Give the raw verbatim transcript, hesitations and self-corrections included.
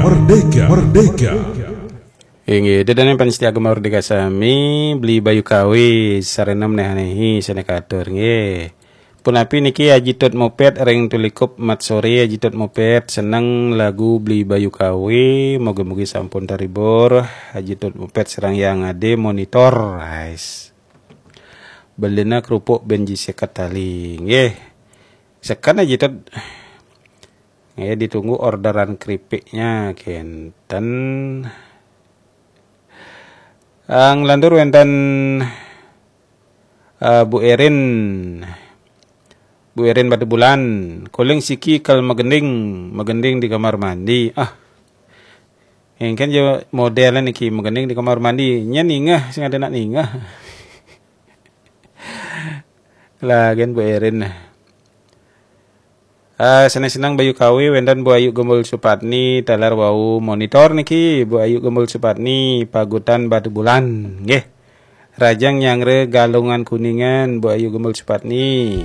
Merdeka, Merdeka. Inggih, ida dané pamiarsa Gema Merdeka sami, Beli Bayu Kawi, sarana menéhané hi sané katur, nggih. Punapi niki Haji Tut Mupet ring Tulikup, mat soré Haji Tut Mupet, seneng lagu Beli Bayu Kawi, mugi-mugi sampun terhibur. Haji Tut Mupet sareng Yang Ade monitor, guys. Belina kerupuk ben ji seket tali, nggih. Seken Haji Tut. Nggih, ditunggu orderan keripiknya, kénten. Ang lantur wénten, eh, Bu Erin. Bu Erin Batubulan, kuling siki kal magending, magending di kamar mandi. Ah. Éngkén ja modél niki magending di kamar mandi. Nya ningeh, sing ada nak ningeh. Lah, gén Bu Erin. Ah, seneng-seneng Bayu Kawi, wénten Bu Ayu Gembul Supatni, taler wau monitor niki, Bu Ayu Gembul Supatni, Pagutan Batubulan, nggih. Rajang nyanggra Galungan Kuningan, Bu Ayu Gembul Supatni.